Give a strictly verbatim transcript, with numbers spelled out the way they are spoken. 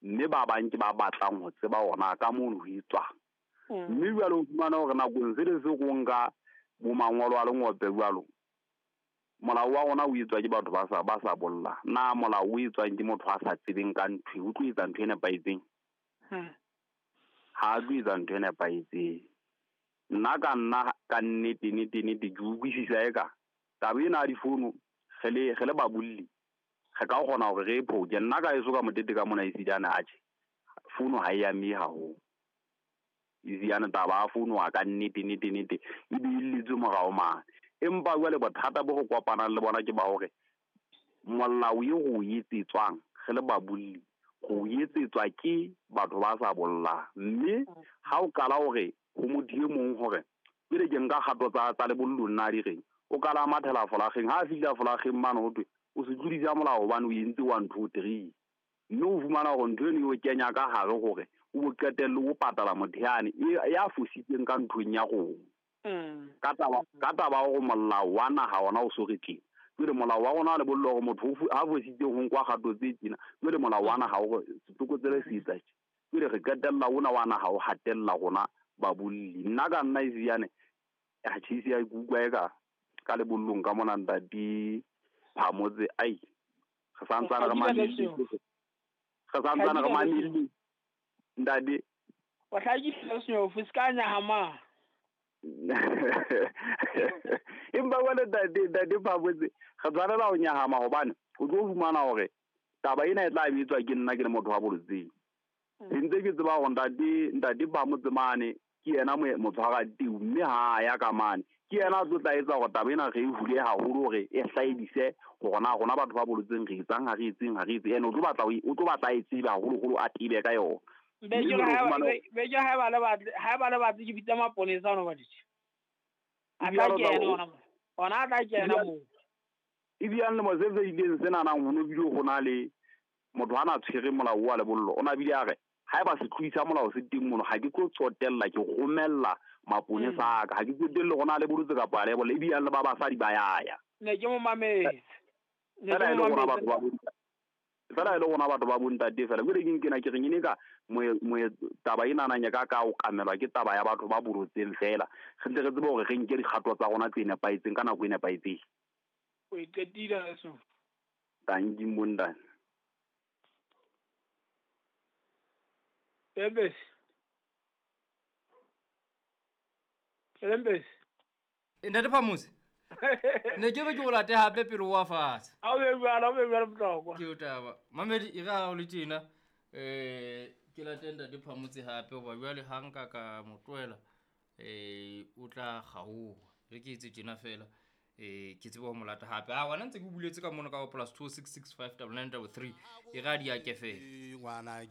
Mme ba bang ke ba batlang ho tseba hore na ka mono ho etswang. Mme jwale o fumana hore nakong se le se go nka bo mangolo a lengope jwalo, molao wa rona o etswa ke batho ba sa ba sa bolla. Na molao o etswang ke motho a sa tsebeng ka ntho, o tlo etsa ntho e nepahetseng? Ha a tlo etsa ntho e nepahetseng. Nna ka nna ka nnete nnete nnete ke utlwisisa eka taba ena ya difono re le re le babolli re ka kgona hore re e phoke. Nna ka heso ka motete ka mona esitane atjhe fono ha e amehe haholo. Eziane taba ya fono a ka nnete nnete nnete e beelletswe morao mane. Empa jwale bothata bo re kopanang le bona ke ba hore molao eo re o etsetswang re le babolli re o etsetswa ke batho ba sa bollang. Mme ha o qala hore ho motho e mong hore pele ke nka kgato tsa tsa lebollo nna di reng, o qala a mathela folakgeng. Ha a fihla folakgeng mane ho thwe o se tlodisa molao hobane o entse one two three. Mme o fumana hore ntho eno e o kenya ka hare hore o bo qetelle o patala motho yane ya fositseng ka nthong ya rona. Ka taba ka taba hore molao wa naha ona o so re tjena. Jwale molao wa rona wa lebollo hore motho ha fositse ho nkwa kgato tse tjena, jwale molao wa naha hore setlokotsebe se etsa tje. Jwale re qetella ona wa naha o hatella rona babolli. Nna ka nna eziane atjhe ise ke utlwa eka ka lebollong ka mona ntate Phamotse ai re santsane re mametse, re santsane re mametse ntate. O hlakisitse senyofu se ka nyahama. Empa jwale ntate ntate Phamotse re tshwanela ho nyahama hobane o tlo fumana hore taba ena e tla etswa ke nna ke le motho wa bolotseng. Ntse ke tseba hore ntate ntate Phamotse mane ke yena motshwara teu, mme ha ya ka mane ke yena a tlo tla etsa hore taba ena re e hule haholo hore e hlaedise hore na rona batho ba bolotseng re etsang ha re etseng ha re etse. Ene o tlo batla o tlo batla e tsebe haholoholo a tebe ka yona. Be ke ha ba le batle ha ba le batle ke bitsa maponesa ona ba ditse. A tla kena ona mo. Ona a tla kena mo. Ebiang le mose se ileng sena nang ho no bile ho na le motho ana tshwere molao wa lebollo. O na bile a re haeba se tloisa molao se teng mono ha ke tlo tsotella ke romella maponesa a ka, ha ke tsotelle hore na le bolotse kapa le bolle. Ebiang le ba basadi ba yaya. Ne ke mo mametse. Ne ke mo mametse. Fela e le rona batho ba bontate fela. Jwale ke nkena ke reng ene ka moe taba ena nang ya ka ka o kamelwa ke taba ya batho ba bolotseng fela. Re ntse re tsebe hore re nke dikgato tsa rona tse nepahetseng ka nako e nepahetseng. O e qetile so. Tanki mondane. Lembes. Lembes. Ntate Phamotse. Ne ke be ke o late hape pele wa fatshe. A o be jwalo, o be jwalo bohlokwa. Ke o taba. Mamedi e ra o le tjena eh ke late ntate Phamotse hape hoba jwale ha nka ka mo tlohela eh o tla kgaoha. Re ke etse tjena fela eh ke tsebe ho mo lata hape. A wena ntse ke buletse ka mono ka plus two six six five nine nine three e ra di ya ke fela. Ngwana ke